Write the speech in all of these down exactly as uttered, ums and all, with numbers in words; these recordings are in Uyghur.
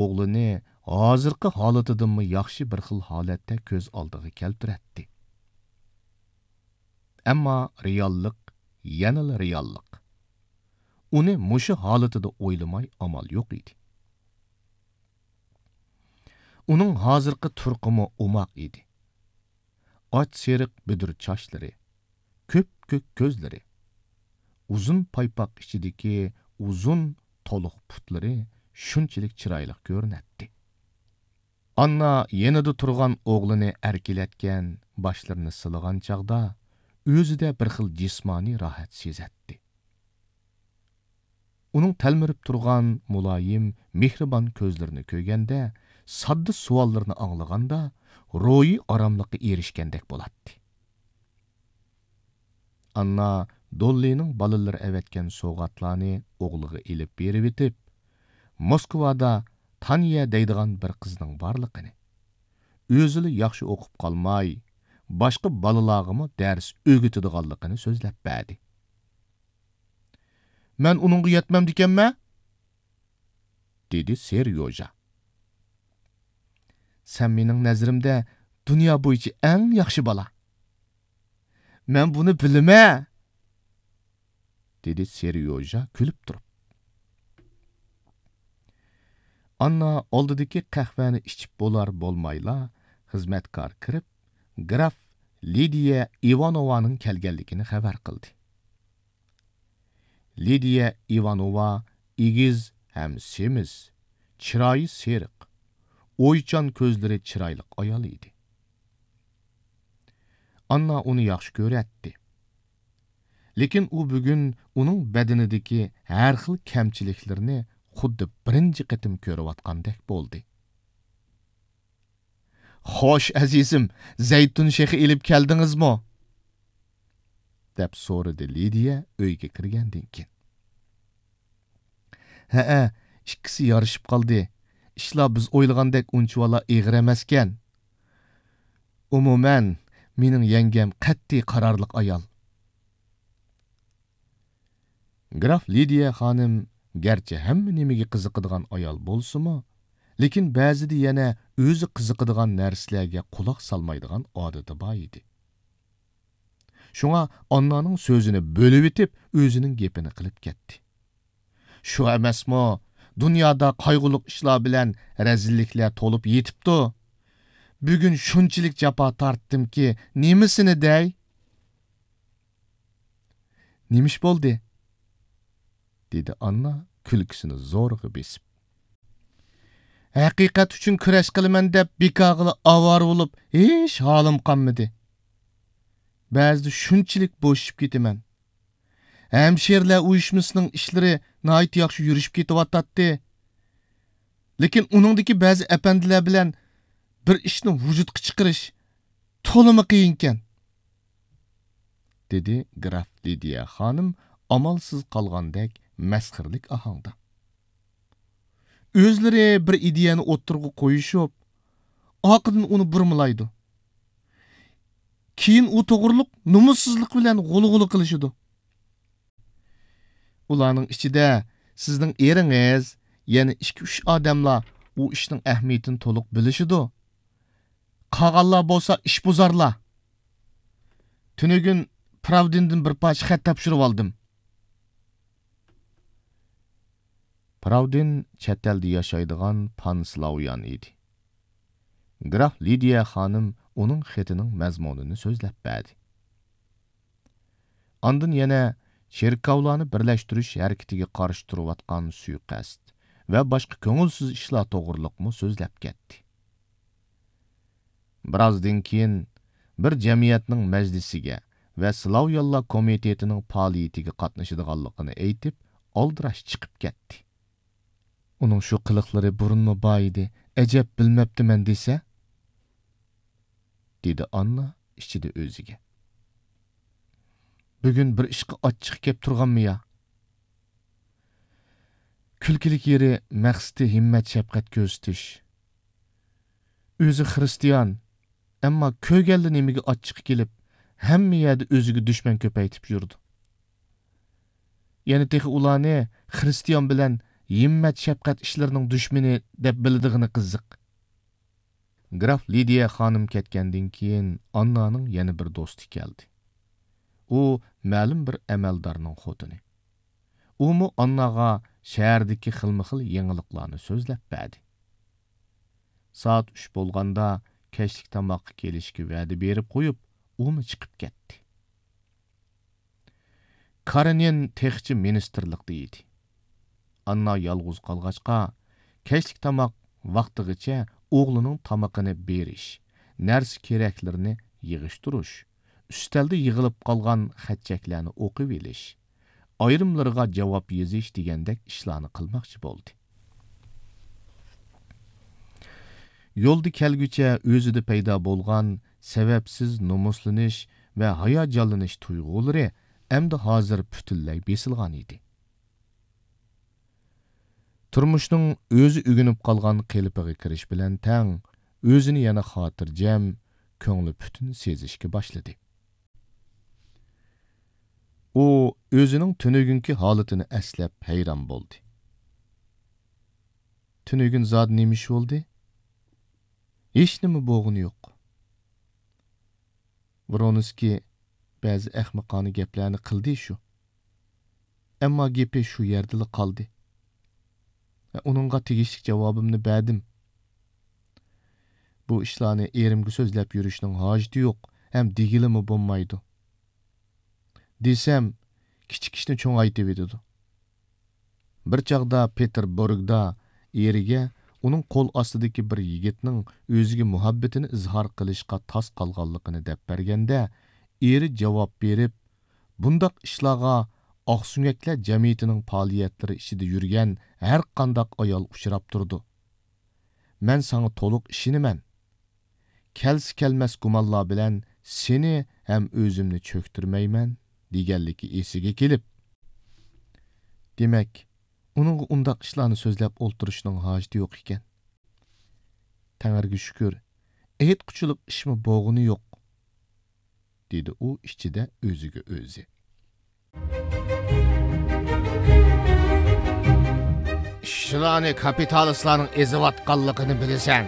ئوغلىنى ھازىرقى ھالىتىدىنمۇ ياخشى بىر خىل ھالەتتە كۆز ئالدىغا كەلتۈرەتتى. ئەمما رېئاللىق يەنىلا رېئاللىق. ئۇنى مۇشۇ ھالىتىدە ئويلىماي ئامال يوق ئىدى. ئۇنىڭ ھازىرقى تۇرقىمۇ ئوماق ئىدى. ئاچ سېرىق بۈدۈر چاچلىرى، كۆپكۆك كۆزلىرى، ئۇزۇن پايپاق ئىچىدىكى ئۇزۇن تولۇق پۇتلىرى شۇنچىلىك چىرايلىق كۆرۈنەتتى. ئاننا يېنىدا تۇرغان ئوغلىنى ئەركىلەتكەن، باشلىرىنى سىلىغان چاغدا ئۆزىدە بىر خىل جىسمانىي راھەت سېزەتتى. ئۇنىڭ تەلمۈرۈپ تۇرغان مۇلايىم، مېھرىبان كۆزلىرىنى كۆرگەندە، ساددا سوئاللىرىنى ئاڭلىغاندا، روھىي ئاراملىققا ئېرىشكەندەك بولاتتى. ئاننا دوللىنىڭ بالىلىرى ئەۋەتكەن سوۋغاتلارنى ئوغلىغا ئېلىپ بېرىۋېتىپ، موسكۋادا تانىيە دەيدىغان بىر قىزنىڭ بارلىقىنى، ئۆزىلا ياخشى ئوقۇپ قالماي، باشقا بالىلارغىمۇ دەرس ئۆگىتىدىغانلىقىنى سۆزلەپ بەردى. مەن ئۇنىڭغا يەتمەمدىكەنمەن؟ دېدى سېريوژا. سەن مېنىڭ نەزىرىمدە دۇنيا بويىچە ئەڭ ياخشى بالا. مەن بۇنى بىلىمەن، دېدى سېريوژا كۈلۈپ تۇرۇپ. ئاننا ئالدىدىكى قەھۋەنى ئىچىپ بولار بولمايلا، خىزمەتكار كىرىپ، گراف لىدىيە ئىۋانوۋانىڭ كەلگەنلىكىنى خەۋەر قىلدى. لىدىيە ئىۋانوۋا ئېگىز ھەم سېمىز، چىرايى سېرىق، ئويچان كۆزلىرى چىرايلىق ئايال ئىدى. ئاننا ئۇنى ياخشى كۆرەتتى. لېكىن ئۇ بۈگۈن ئۇنىڭ بەدىنىدىكى ھەر خىل كەمچىلىكلىرىنى خۇددى بىرىنچى قېتىم كۆرۈۋاتقاندەك بولدى. خوش، ئەزىزىم، زەيتۇن شېخى ئېلىپ كەلدىڭىزمۇ؟ دەپ سورىدى لىدىيە ئۆيگە كىرگەندىن كېيىن. ھەئە، ئىككىسى يارىشىپ قالدى. ئىشلار بىز ئويلىغاندەك ئۇنچىۋالا ئېغىر ئەمەسكەن. ئومۇمەن، مېنىڭ يەڭگەم قەتئىي قارارلىق ئايال. گراف لىدىيە خانىم گەرچە ھەممە نېمىگە قىزىقىدىغان ئايال بولسىمۇ، لېكىن بەزىدە يەنە ئۆزى قىزىقىدىغان نەرسىلەرگە قۇلاق سالمايدىغان ئادىتى بار ئىدى. شۇڭا ئاننانىڭ سۆزىنى بۆلۈۋېتىپ، ئۆزىنىڭ گېپىنى قىلىپ كەتتى. شۇ ئەمەسمۇ، دۇنيادا قايغۇلۇق ئىشلار بىلەن رەزىللىكلەر تولۇپ يېتىپتۇ. بۈگۈن شۇنچىلىك جاپا تارتتىمكى، نېمىسىنى دەي؟ نېمە ئىش بولدى؟ دېدى ئاننا كۈلكىسىنى زورىغا بېسىپ. ھەقىقەت ئۈچۈن كۈرەش قىلىمەن دەپ بىكارغىلا ئاۋارە بولۇپ ھېچ ھالىم قالمىدى. بەزىدە شۇنچىلىك بوشىشىپ كېتىمەن. ھەمشىرىلەر ئۇيۇشمىسىنىڭ ئىشلىرى ناھايىتى ياخشى يۈرۈشۈپ كېتىۋاتاتتى. لېكىن ئۇنىڭدىكى بەزى ئەپەندىلەر بىلەن بىر ئىشنى ۋۇجۇدقا چىقىرىش تولىمۇ قىيىنكەن، دېدى گراف لىدىيە خانىم ئامالسىز قالغاندەك مەسخىرىلىك ئاھاڭدا. ئۆزلىرى بىر ئىدىيەنى ئوتتۇرىغا قويۇشۇپ، ئارقىدىن ئۇنى بۇرمىلايدۇ. كېيىن ئۇ توغرۇلۇق نومۇسسىزلىق بىلەن غۇلغۇلا قىلىشىدۇ. ئۇلارنىڭ ئىچىدە سىزنىڭ ئېرىڭىز، يەنە ئىككى-ئۈچ ئادەملا ئۇ ئىشنىڭ ئەھمىيىتىنى تولۇق بىلىشىدۇ. قالغانلار بولسا ئىشبۇزارلار. تۈنۈگۈن پراۋدىندىن بىر پارچە خەت تاپشۇرۇۋالدىم. پراۋدىن چەت ئەلدە ياشايدىغان پانسلاۋيان ئىدى. گراف لىدىيە خانىم ئۇنىڭ خېتىنىڭ مەزمۇنىنى سۆزلەپ بەردى. ئاندىن يەنە چېركاۋلارنى بىرلەشتۈرۈش ھەرىكىتىگە قارشى تۇرۇۋاتقان سۇيىقەست ۋە باشقا كۆڭۈلسىز ئىشلار توغرۇلۇقمۇ سۆزلەپ كەتتى. بىرازدىن كېيىن بىر جەمئىيەتنىڭ مەجلىسىگە ۋە سلاۋيانلار كومىتېتىنىڭ پائالىيىتىگە قاتنىشىدىغانلىقىنى ئېيتىپ، ئالدىراش چىقىپ كەتتى. ئۇنىڭ شۇ قىلىقلىرى بۇرۇنمۇ بار ئىدى، ئەجەب بىلمەپتىمەن دېسە؟ دېدى ئاننا ئىچىدە ئۆزىگە. بۈگۈن بىر ئىشقا ئاچچىقى كەپ تۇرغانمۇ يا؟ كۈلكىلىك يېرى مەقسىتى ھىممەت-شەپقەت كۆرسىتىش. ئۆزى خىرىستىيان، ئەمما كۆرگەنلا نېمىگە ئاچچىقى كېلىپ، ھەممە يەردە ئۆزىگە دۈشمەن كۆپەيتىپ يۈرىدۇ. يەنە تېخى ئۇلارنى خىرىستىيان بىلەن ھىممەت-شەپقەت ئىشلىرىنىڭ دۈشمىنى دەپ بىلىدىغىنى قىزىق. گراف لىدىيە خانىم كەتكەندىن كېيىن ئاننانىڭ يەنە بىر دوستى كەلدى. ئۇ مەلۇم بىر ئەمەلدارنىڭ خوتۇنى. ئۇمۇ ئانناغا شەھەردىكى خىلمۇ خىل يېڭىلىقلارنى سۆزلەپ بەردى. سائەت ئۈچ بولغاندا كەچلىك تاماققا كېلىشكە ۋەدە بېرىپ قويۇپ، ئۇمۇ چىقىپ كەتتى. كارېنىن تېخىچە مىنىستىرلىقتا ئىدى. ئاننا يالغۇز قالغاچقا، كەچلىك تاماق ۋاقتىغىچە ئوغلىنىڭ تامىقىنى بېرىش، نەرسە-كېرەكلىرىنى يىغىشتۇرۇش، ئۈستەلدە يىغىلىپ قالغان خەت-چەكلەرنى ئوقۇۋېلىش، ئايرىملىرىغا جاۋاب يېزىش دېگەندەك ئىشلارنى قىلماقچى بولدى. يولدا كەلگۈچە ئۆزىدە پەيدا بولغان سەۋەبسىز نومۇسلىنىش ۋە ھاياجانلىنىش تۇيغۇلىرى ئەمدى ھازىر پۈتۈنلەي بېسىلغان ئىدى. تۇرمۇشنىڭ ئۆزى ئۆگىنىپ قالغان قېلىپىغا كىرىش بىلەن تەڭ، ئۆزىنى يەنە خاتىرجەم، كۆڭلى پۈتۈن سېزىشكە باشلىدى. ئۇ ئۆزىنىڭ تۈنۈگۈنكى ھالىتىنى ئەسلەپ ھەيران بولدى. تۈنۈگۈن زادى نېمە ئىش بولدى؟ ھېچنېمە بولغىنى يوق. ۋرونسكىي بەزى ئەخمىقانە گەپلەرنى قىلدى شۇ. ئەمما گېپى شۇ يەردىلا قالدى. ئۇنىڭغا تېگىشلىك جاۋابىمنى بەردىم. بۇ ئىشلارنى ئېرىمگە سۆزلەپ يۈرۈشنىڭ ھاجىتى يوق ھەم دېگىلىمۇ بولمايدۇ. دېسەم، كىچىك ئىشنى چوڭايتىۋېتىدۇ. بىر چاغدا پېتېربۇرگدا ئېرىگە ئۇنىڭ قول ئاستىدىكى بىر يىگىتنىڭ ئۆزىگە مۇھەببىتىنى ئىزھار قىلىشقا تاس قالغانلىقىنى دەپ بەرگەندە، ئېرى جاۋاب بېرىپ، بۇنداق ئىشلارغا ئاقسۆڭەكلەر جەمئىيىتىنىڭ پائالىيەتلىرى ئىچىدە يۈرگەن ھەرقانداق ئايال ئۇچراپ تۇرىدۇ. مەن ساڭا تولۇق ئىشىنىمەن. كەلسە كەلمەس گۇمانلار بىلەن سېنى ھەم ئۆزۈمنى چۆكتۈرمەيمەن، دېگەنلىكى ئېسىگە كېلىپ، دېمەك، ئۇنىڭغا ئۇنداق ئىشلارنى سۆزلەپ ئولتۇرۇشنىڭ ھاجىتى يوق ئىكەن. تەڭرىگە شۈكۈر، ئېيتقۇچىلىق ئىشمۇ بولغىنى يوق، دېدى ئۇ ئىچىدە ئۆزىگە ئۆزى. ئىشچىلارنى كاپىتالىستلارنىڭ ئېزىۋاتقانلىقىنى بىلىسەن.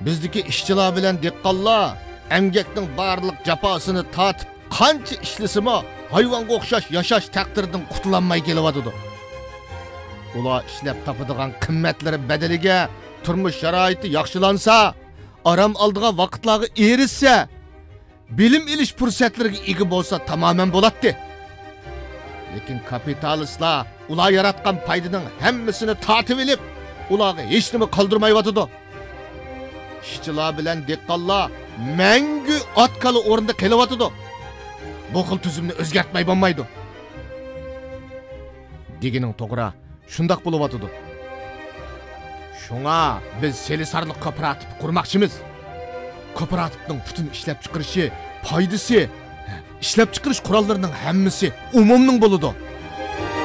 بىزدىكى ئىشچىلار بىلەن دېھقانلار ئەمگەكنىڭ بارلىق جاپاسىنى تارتىپ، قانچە ئىشلىسىمۇ، ھايۋانغا ئوخشاش ياشاش تەقدىرىدىن قۇتۇلالماي كېلىۋاتىدۇ. ئۇلار ئىشلەپ تاپىدىغان قىممەتلىرى بەدىلىگە تۇرمۇش شارائىتى ياخشىلانسا، ئارام ئالىدىغان ۋاقىتلارغا ئېرىشسە، بىلىم ئېلىش پۇرسەتلىرىگە ئىگە بولسا تامامەن بولاتتى. لېكىن كاپىتالىستلار ئۇلار ياراتقان پايدىنىڭ ھەممىسىنى تارتىۋېلىپ، ئۇلارغا ھېچنېمە قالدۇرمايۋاتىدۇ. ئىشچىلار بىلەن دېھقانلار مەڭگۈ ئات-كالا ئورنىدا قېلىۋاتىدۇ. بۇ خىل تۈزۈمنى ئۆزگەرتمەي بولمايدۇ. دېگىنىڭ توغرا، شۇنداق بولۇۋاتىدۇ. شۇڭا بىز سېلىسارلىق كوپىراتىپى قۇرماقچىمىز. كوپىراتىپنىڭ پۈتۈن ئىشلەپچىقىرىشى، پايدىسى، ئىشلەپچىقىرىش قوراللىرىنىڭ ھەممىسى ئومۇمنىڭ بولىدۇ.